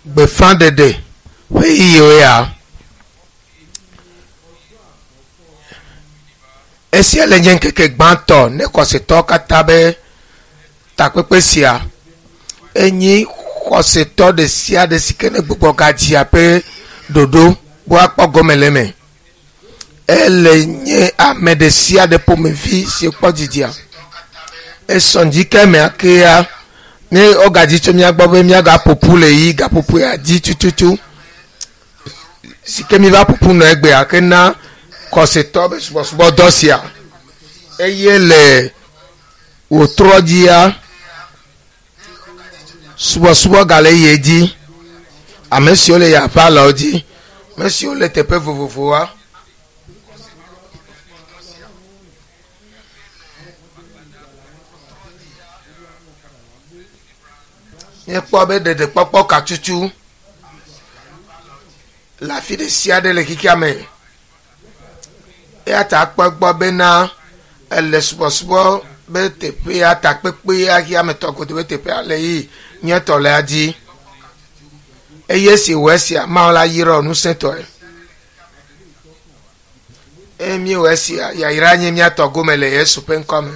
Gbeƒãɖeɖe ƒe ɣeyiɣiwo ya. Esia le nye ŋkeke gbãtɔ ne xɔsetɔwo katã be takpekpe sia. Enyi xɔsetɔ ɖe sia ɖe si ke ne gbugbɔ gadzia ƒe ɖoɖo be woakpɔ gome le eme. Ele nye ame ɖe sia ɖe ƒomevi si kpɔ dzidzia. Esɔ ŋdi ke mea kea ne wogadzi tso mía gbɔ be míagaƒo ƒu le yi gaƒoƒo ya dzi tututu si ke míva ƒo ƒu nɔ egbea ke na xɔsetɔ be subɔsubɔdɔ sia eye le wòtrɔ dzia subɔsubɔ gale yi dzi ame siwo le yaƒe alɔwo dzi ame siwo le teƒe vovovowoa. Míekpɔ be ɖeɖekpɔkpɔ ka tutu le afi ɖe sia ɖe le xexea me. Eya ta kpɔ egbɔ bena ele subɔsubɔ be teƒea takpekpea xexeametɔ godo be teƒea le yi nye tɔ lea dzi. Eye esi wɔ esia Mawu la yra ŋusẽtɔe. Eye míewɔ esia yayra nye míatɔ gome le Yesu ƒe ŋkɔ me.